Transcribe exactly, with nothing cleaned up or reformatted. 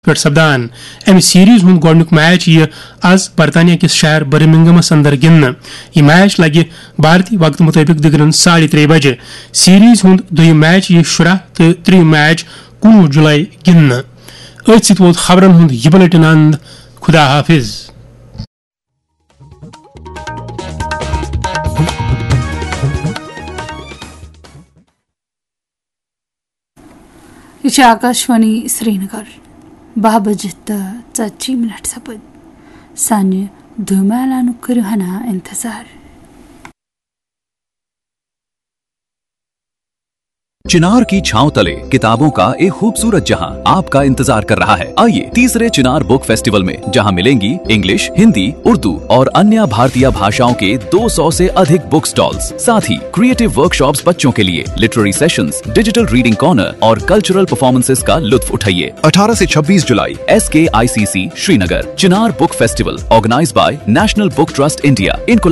پٮ۪ٹھ سپدان۔ امہِ سیریز ہُنٛد گۄڈٕنیُک میچ یِیہِ از برطانیہ کِس شہر برمنگمس اندر گِنٛدنہٕ۔ یہِ میچ لگہِ بھارتی وقتہٕ مُطٲبِق دِگرن ساڑِ ترٛےٚ بجہِ۔ سیریز ہُنٛد دوٚیِم میچ یِیہِ شُراہ تہٕ ترٛیٚیِم میچ کُنوُہ جُلای گِنٛدنہٕ۔ أتھۍ سۭتۍ ووت خبرن ہُنٛد یہِ بُلیٹن اند۔ خدا حافظ۔ یہِ چھِ آکاشوانی سرینگر۔ باہ بجہِ تہٕ ژتجی منٹ سپٕدۍ۔ سانہِ دوٚیمہِ اعلانُک کٔرِو ہنا انتظار۔ चिनार की छांव तले किताबों का एक खूबसूरत जहां आपका इंतजार कर रहा है। आइए तीसरे चिनार बुक फेस्टिवल में, जहां मिलेंगी इंग्लिश, हिंदी, उर्दू और अन्य भारतीय भाषाओं के दो सौ से अधिक बुक स्टॉल्स, साथ ही क्रिएटिव वर्कशॉप्स बच्चों के लिए, literary sessions, digital reading corner और कल्चरल परफॉर्मेंसेस का लुत्फ उठाइए। अठारह से छब्बीस जुलाई, S K I C C Srinagar. Chinar book festival, organise by national book trust India, in collaboration